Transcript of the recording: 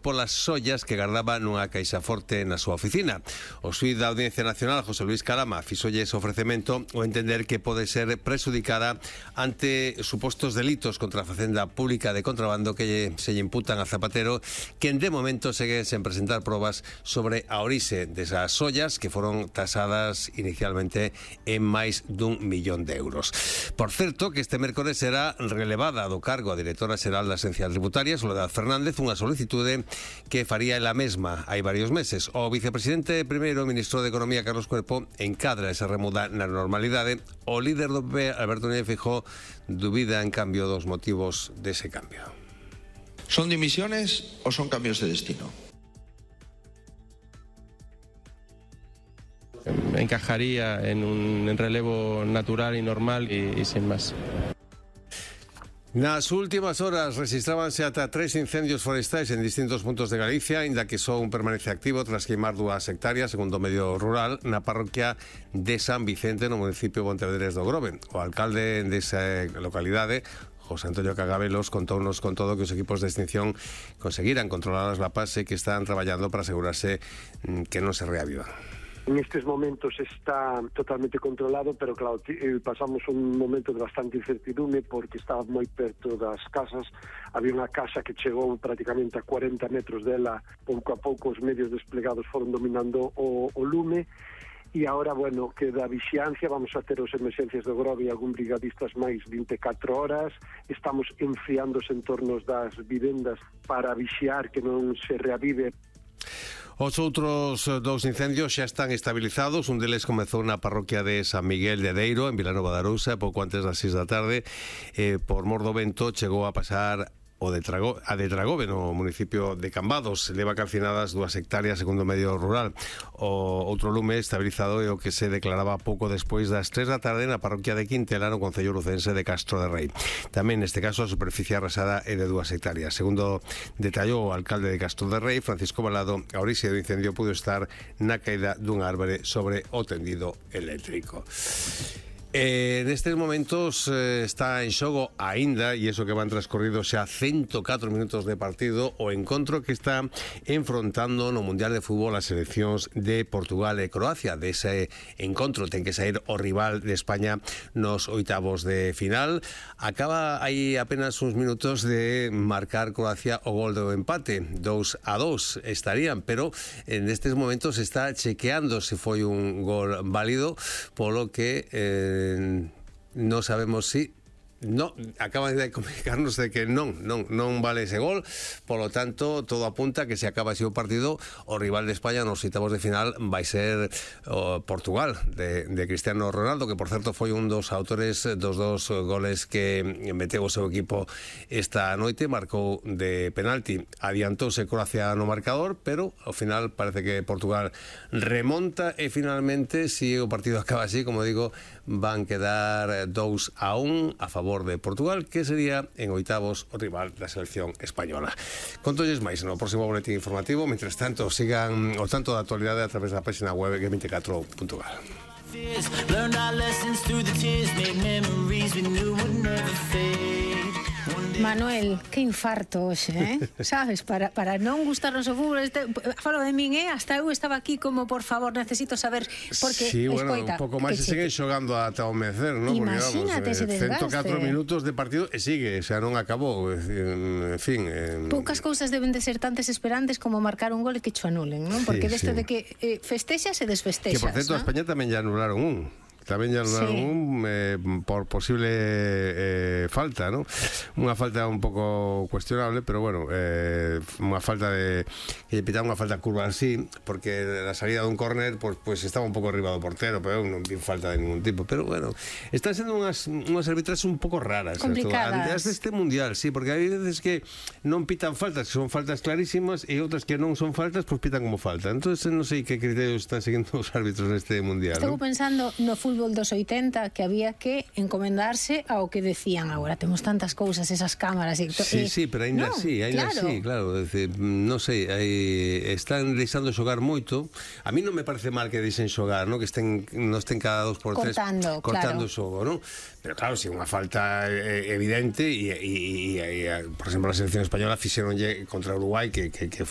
polas sollas que gardaba nunha caixa forte na súa oficina. O xuíz da Audiencia Nacional, José Luis Calama, fixolle ese ofrecemento o entender que pode ser prexudicada ante supostos delitos contra a facenda pública de contrabando que se lle imputan a Zapatero, que de momento segue sen presentar probas sobre a orixe desas sollas que foron tasadas inicialmente en máis dun millón de euros. Por certo, que este mércores será relevada do cargo a directora xeral da Axencia Tributaria, Soledad Fernández, unha solicitude que faría ela mesma hai varios meses. O vicepresidente primeiro, ministro de Economía, Carlos Cuerpo, encadra esa remuda na normalidade. O líder do PP, Alberto Núñez Feijóo, dubida en cambio dos motivos dese cambio. ¿Son dimisiones o son cambios de destino? Encajaría en un relevo natural y normal y sin más. Nas últimas horas registrábanse ata 3 incendios forestais en distintos puntos de Galicia, inda que só un permanece activo tras queimar 2 hectáreas, segundo o medio rural, na parroquia de San Vicente, no municipio de Pontevedrés do Grove. O alcalde desa localidade, José Antonio Cagabelos, contounos con todo que os equipos de extinción conseguiran controlar as lapas e que están traballando para asegurarse que non se reavivan. En estes momentos está totalmente controlado, pero claro, pasamos un momento de bastante incertidume porque estaba moi perto das casas. Había unha casa que chegou prácticamente a 40 metros dela. Pouco a pouco os medios desplegados foron dominando o lume. E agora, bueno, queda vixiancia, vamos a ter os emerxencias do Grove e algún brigadistas máis 24 horas. Estamos enfriando os entornos das vivendas para vixiar que non se reavive. Os outros 2 incendios xa están estabilizados. Un deles comezou na parroquia de San Miguel de Deiro, en Vilanova de Arousa, pouco antes das 6 da tarde. Por mor do vento chegou a pasar a de Dragove, no municipio de Cambados. Leva calcinadas 2 hectáreas, segundo o medio rural. O outro lume estabilizado é o que se declaraba pouco despois das 3 da tarde na parroquia de Quintela, no concello lucense de Castro de Rei. Tamén neste caso a superficie arrasada é de 2 hectáreas. Segundo detallou o alcalde de Castro de Rei, Francisco Balado, a orixe do incendio pudo estar na caída dunha árbore sobre o tendido eléctrico. Nestes momentos está en xogo aínda, e iso que van transcorridos xa 104 minutos de partido, o encontro que está enfrontando no Mundial de Fútbol as seleccións de Portugal e Croacia. Dese encontro ten que sair o rival de España nos oitavos de final. Acaba aí apenas uns minutos de marcar Croacia o gol do empate, 2-2 estarían, pero nestes momentos está chequeando se foi un gol válido, polo que non sabemos si acaban de comunicarnos de que non vale ese gol. Por lo tanto, todo apunta que se acaba así o partido, o rival de España nos oitavos de final vai ser Portugal de Cristiano Ronaldo, que por certo foi un dos autores dos 2 goles que meteu o seu equipo esta noite. Marcou de penalti, adiantouse Croacia no marcador, pero ao final parece que Portugal remonta e finalmente, si o partido acaba así, como digo, van quedar 2-1 a favor de Portugal, que sería en oitavos o rival da selección española. Contolles máis no próximo boletín informativo. Mientras tanto, sigan o tanto da actualidade a través da página web g24.gal. Manuel, que infarto hoxe, sabes, para non gustarnos o fútbol, falo de min, hasta eu estaba aquí como, por favor, necesito saber, porque, sí, bueno, escoita, un pouco máis se siguen xogando ata o mecer, non? Imagínate ese desgaste. 104 minutos de partido e sigue, xa non acabou, en fin. Poucas cousas deben de ser tan desesperantes como marcar un gol e que cho anulen, non? Porque sí, deste de que festexas e desfestexas. Que, por certo, a España tamén ya anularon un. Tamén ya por posible falta, ¿no? Unha falta un pouco cuestionable, pero bueno, unha falta de que pitaron unha falta curva así, porque la salida dun córner pues estaba un pouco arriba do portero, pero non vi falta de ningún tipo. Pero bueno, están sendo unhas arbitraxes un pouco raras, complicadas. Antes deste mundial, sí, porque hai veces que non pitan faltas, que son faltas clarísimas, e outras que non son faltas, pues pitan como falta. Entonces non sei que criterios están seguindo os árbitros neste mundial. Estou pensando no fútbol dos 80, que había que encomendarse ao que decían. Agora temos tantas cousas, esas cámaras e sí, pero ainda así, claro, non sei, están deixando xogar moito. A mí non me parece mal que deixen xogar, non? Que non estén cada 2 por 3 cortando o xogo, non? Pero claro, si unha falta evidente e por exemplo, a selección española fixeronlle contra Uruguai que